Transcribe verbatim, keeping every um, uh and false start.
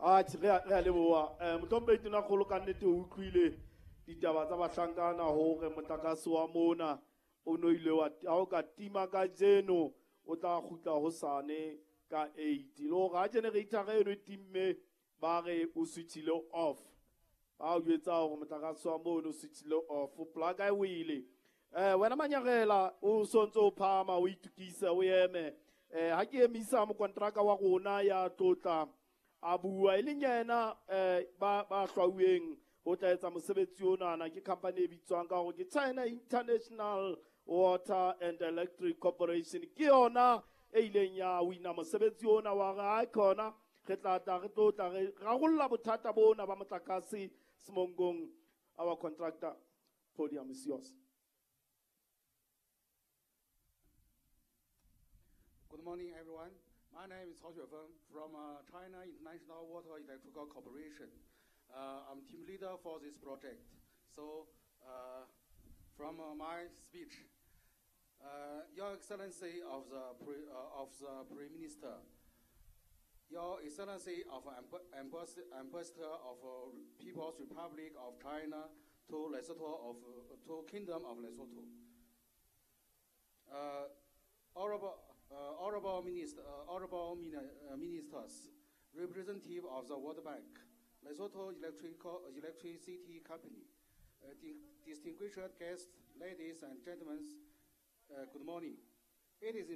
Atjhe, re a re a leboha. Eh Mohlomphehi Tonakgolo, ka nnete o utlwile ditaba tsa bahlankana hore motlakase wa mona o no ile wa ha o ka tima kajeno o tla kgutla hosane ka eight. Le hore ha generator eno e timme ba re o switchile off. Ba o jwetsa hore motlakase wa mono o switchile off, plug e wele. Eh wena Manyarela o sontso o phahama o itukisa o eme. Eh ha ke emisa mokontraka wa rona ya tlotla a bua e leng yena eh ba ba hlwauweng ho tla etsa mosebetsi onana ke company e bitswang ka hore ke China International Water and Electric Corporation. Ke yona e ileng ya wina mosebetsi ona wa re ha khona re tla tla re tlo tla re rarolla bothata bona ba motlakase Semongong. Our contractor, podium is yours. Good morning, everyone. My name is Cao Xuefeng from uh, China International Water Electrical Corporation. Uh, I'm team leader for this project. So, uh, from uh, my speech, uh, Your Excellency of the, Pre, uh, of the Prime Minister, Your Excellency of Amb-, Ambas-, Ambassador of, uh, People's Republic of China to Lesotho of, uh, to Kingdom of Lesotho, uh, Honorable, uh, Honorable Minister, uh, Honorable Mini-, uh, Ministers, representative of the World Bank, Lesotho Electrical, Electricity Company, uh, di-, distinguished guests, ladies and gentlemen, uh, good morning. It is